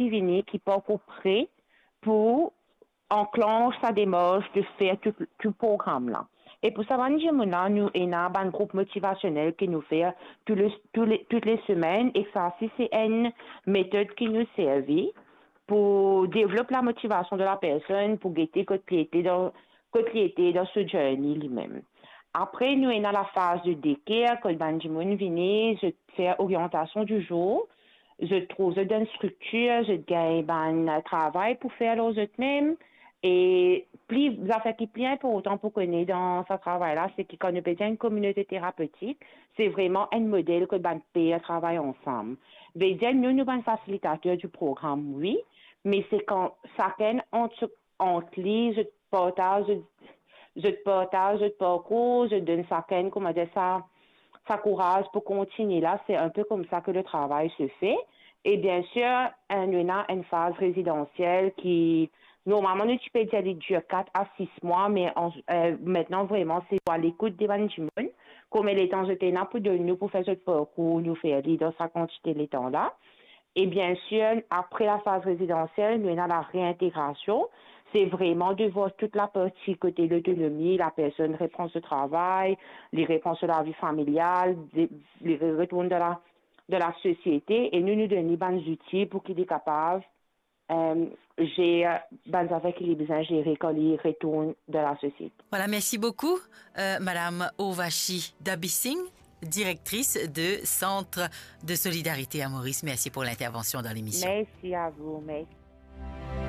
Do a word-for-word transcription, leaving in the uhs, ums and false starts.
ki vini, ki pa ankor pre pou anklansh sa demars de fer tou, tou program la. E pou sa bann dimoun la, nou ena bann group motivasionel ki nou fer tou le, tou le, tou le semenn, e sa si se enn metod ki nou servi pou devlop la motivasion de la personn, pou gete kot li ete dan, kot li ete dan so journey limem. Apre, nou ena la faz de daycare, kot bann dimoun vini, zot fer oriantasion di zour, zot trouv zot dan enn striktir, zot gagn bann travay pou fer lor zot mem. E pli, zafer ki pli inportan pou kone dan sa travay la, se ki kan nou pe dir enn kominote terapetik, se vreman enn model kot bann per travay ansam. Vedir nou, nou bann fasilitater di program, wi, me se kan sakenn ant, ant li, zot partaz, zot, zot partaz zot parkour, zot donn sakenn, kouma dir sa, sa kouraz pou kontigne la, se inpe koumsa ke le travay se fe. E bien sir, eh, nou ena enn faz rezidansiel ki, normalman, nou ti pe dir li dir kat a sis mwa, me an, eh, aster vreman, se a lekout de bann dimoun, konbien letan zot ena pou donn nou pou fer zot parkour, nou fer li dan sa kantite letan la. E bien sir, apre la faz rezidansiel, nou ena la reintegrasion. Se vreman de vwar tou la parti kote lotonomi, la personn repran so travay, li repran so lavi familial, de, li re-, retourn dan la, dan la sosiete, e nou, nou donn li bann zouti pou ki li kapav, eh, zer bann zafer ki li bizin zere kan li retourn dan la sosiete. Voilà, merci beaucoup, euh, Madame Urvashi Dabising, directrice de Centre de Solidarité à Maurice. Merci pour l'intervention dans l'émission. Merci à vous. Merci.